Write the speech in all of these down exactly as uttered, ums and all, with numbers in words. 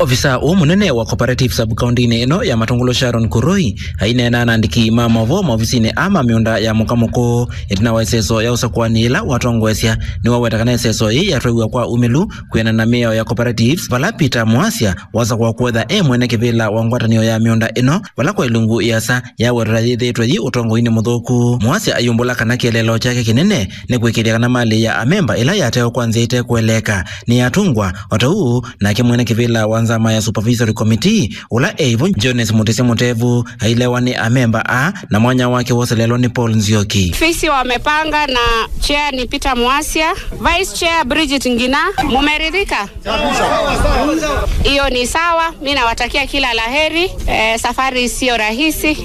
Ovisaa ũũ mũnene wa Cooperative Sub-County-inĩ ĩno ya Matũngũlũ, Sharon Kuroi, aineena na andĩki ma maũvoo maovisinĩ aa ma mĩũnda ya Mũka Mũkũũ ĩtina wa ĩseso ya ũsakũani yĩla watongoesya, nĩwaweta kana ĩseso yĩĩ yatwaiw'a kwa umĩlu kwĩanana na mĩao ya cooperatives, vala Peter Mwasya wasakũa kũetha e mwene kĩvĩla wa ngwatanĩo ya mĩũnda ĩno, vala kwa ilungu ĩasa yawetwa yĩthĩĩtwe yĩ ũtongoinĩ mũthũku. Mwasya ayumbũla kana kĩeleelo kyake kĩnene nĩ kũĩkĩĩthya kana malĩ ya amemba ĩla yatewa kwa nzĩa ĩtekũeleeka nĩyatũngwa, o ta ũu nake mwene kĩvĩla wa nzama ya Supervisory Committee, ũla e ĩvo Jones Mutisya Mutevu, ailewa nĩ amemba aa, na mwanya wake woselelwa nĩ Paul Nzioki. Ofisi wamepanga na chair ni Peter Mwasya, vice chair Bridget Ngina. Mumeridhika? Hiyo ni sawa. Mi nawatakia kila la heri. Eh, safari sio rahisi,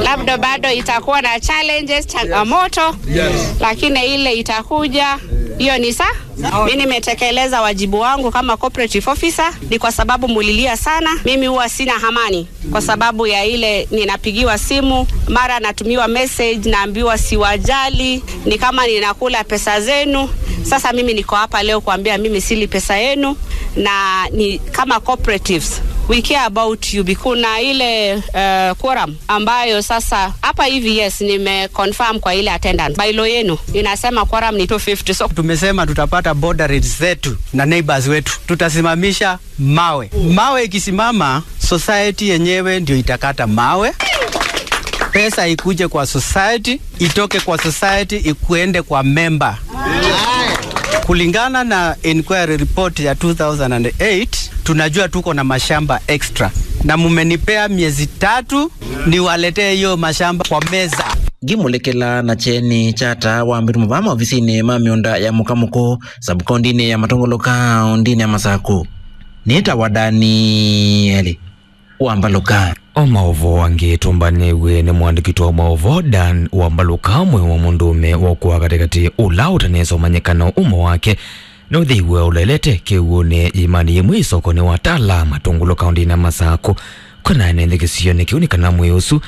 labda bado itakuwa na challenges, changamoto, lakini ile itakuja, hiyo ni sa. Mi nimetekeleza wajibu wangu kama cooperative officer, ni kwa sababu mulilia sana. Mimi huwa sina amani kwa sababu ya ile ninapigiwa simu, mara natumiwa message, naambiwa siwajali, ni kama ninakula pesa zenu. Sasa mimi niko hapa leo kuambia mimi sili pesa yenu, na ni kama cooperatives, we care about you. Kuna ile, eh, quorum ambayo sasa hapa hivi, yes, nime confirm kwa ile attendance. Bylaw yenu inasema quorum ni two fifty, so tumesema tutapata border rates zetu na neighbors wetu, tutasimamisha mawe. Mawe ikisimama, society yenyewe ndio itakata mawe. Pesa ikuje kwa society, itoke kwa society, ikuende kwa member. Kulingana na inquiry report ya two thousand and eight, tunajua tuko na mashamba extra. Na mumenipea miezi tatu niwaletee hiyo mashamba kwa meza. Ngimulekela na kyeni kya taa wa mbĩtu mavaa maovisinĩ ma mĩũnda ya Mũka Mũkũũ, sub-kaũntĩnĩ ya Matũngũlũ, kaũntĩnĩ ya Masakũ. Nĩtawa Danieli Wambalũka. O maũvoo angĩ tũmbanĩw'e nĩ mũandĩki wa maũvoo Dan Wambalũka, mwĩĩ wa mũndũũme wa ũkũa katĩkatĩ ũla ũtanesa ũmanyĩkana ũmo wake nĩũthĩiwe ũlelete kĩw'ũnĩ ĩimanĩ yĩmwe ĩsokonĩ wa Tala, Matũngũlũ, kaũntĩnĩ ya Masakũ. Kwĩna ene nthĩ kĩsionĩ kĩu nĩ kana mwĩĩ ũsu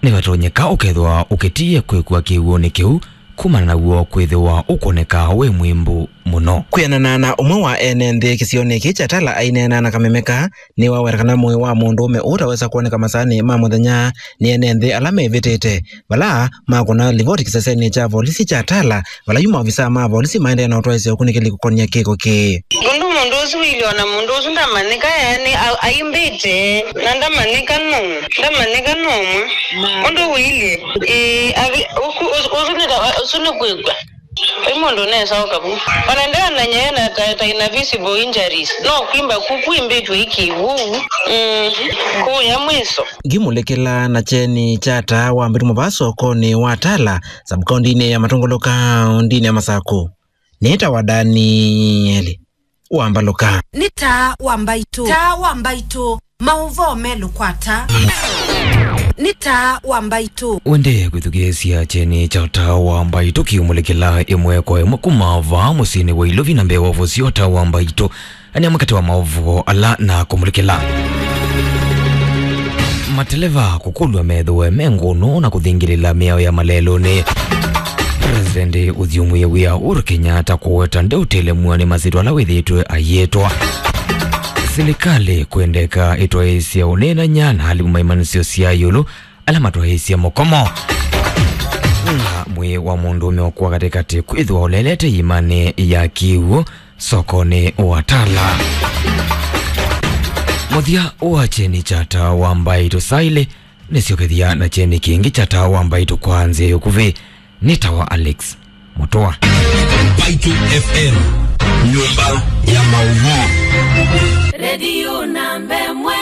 nĩvatonyeka ũkethĩwa ũkĩtie kwĩkua kĩw'ũnĩ kĩu kumana naw'o kwĩthĩwa ũkwoneka wĩ mwĩmbu mũno. Kwĩanana na ũmwe wa ene nthĩ kĩsionĩ kĩĩ kya Tala aineena na kameme kaa, nĩwaweta kana mwĩĩ wa mũndũũme ũũ ũtawesa kwoneka masaanĩ ma mũthenya nĩ ene nthĩ ala mevĩtĩte, vala makũna livoti kĩsesenĩ kya volisi kya Tala, vala yu maovisaa ma volisi maendee na ũtwaĩsya ũkunĩkĩli kũkonya kĩko kĩĩ. Ũndũ mũndũ ũsu wĩilye, ona mũndũ ũsu ndamanyĩka, yaani, a-, aimbĩte, na ndamanyĩka nũ, ndamanyĩka nũmwe. Ũndũ wĩilye, ĩĩ, avi-, ũku-, ũsu, ũsu nĩ ta, ũsu nĩ kwĩkw'a. Vai mũndũ ũnesa ũka vu. Ona ndananyaya na ta, ta ina visible injuries. No kwimba ku, kwimbĩtwe iki vu. Mm. Kũya mwĩso. Ngimulekela na kyeni kya taa wa mbĩtu mavaa sokonĩ wa Tala, sub-kaũntĩnĩ ya Matũngũlũ, kaũntĩnĩ ya Masakũ. Nĩtawa Danieli Wambalũka. Nĩ taa wa mbaitũ. Taa wa mbaitũ. Maũvoo melũkwata. Nĩ taa wa mbaitũ. Wendee kwĩthukĩĩsya kyeni kya taa wa mbaitũ kĩũmũlĩkĩla ĩmwe kwa ĩmwe kuma vaa mũsyĩnĩ wa Ilovi na mbee wa ũvosi wa taa wa mbaitũ. Anĩa makati wa maũvoo ala na kũmũlĩkĩla. Mateleva kũkũlw'a methĩwe me ngũnũ na kũthingĩlĩla mĩao ya malelũnĩ. President ũthyũmũie wĩa Uhuru Kenyatta kũweta ndeũtelemw'a nĩ masyĩtwa ala wĩthĩĩtwe ayĩtwa. Silikalĩ kwendeka ĩtwaĩĩsye ũneenany'a na alimũ ma imanyĩsyo sya ĩũlũ ala matwaĩĩsye mũkomo. Na mwĩĩ wa mũndũũme ũkũa katĩkatĩ kwĩthĩwa ũlelete iimanĩ ya kĩw'ũ sokonĩ wa Tala. Mũthya wa kyeni kya taa wa mbaitũ saa ilĩ nĩsyokethya na kyeni kĩngĩ kya taa wa mbaitũ kwa nzĩa ya ũkuvĩ. Nĩtawa Alex Mũtũa. Mbaitũ F M, nyũmba ya maũvoo. Redio namba ĩmwe,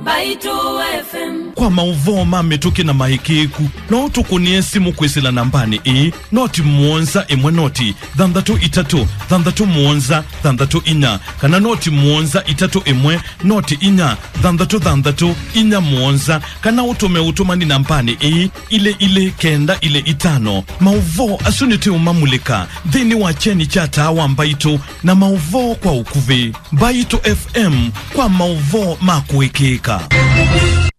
Mbaitũ F M. Kwa maũvoo ma mĩtũkĩ na maĩkĩĩku, no ũtũkũnĩe simũ kwĩsĩla nambanĩ ĩĩ, noti mũonza ĩmwe noti thanthatũ itatũ thanthatũ mũonza thanthatũ inya, kana noti mũonza itatũ ĩmwe noti inya thanthatũ thanthatũ inya mũonza, kana ũtũme ũtũmani nambanĩ ĩĩ, ilĩ ilĩ kenda ilĩ itano. Maũvoo asu nĩtũũmamulĩka nthĩnĩ wa kyeni kya taa wa mbaitũ na maũvoo kwa ũkuvĩ. Mbaitũ F M kwa maũvoo ma kũĩkĩĩka.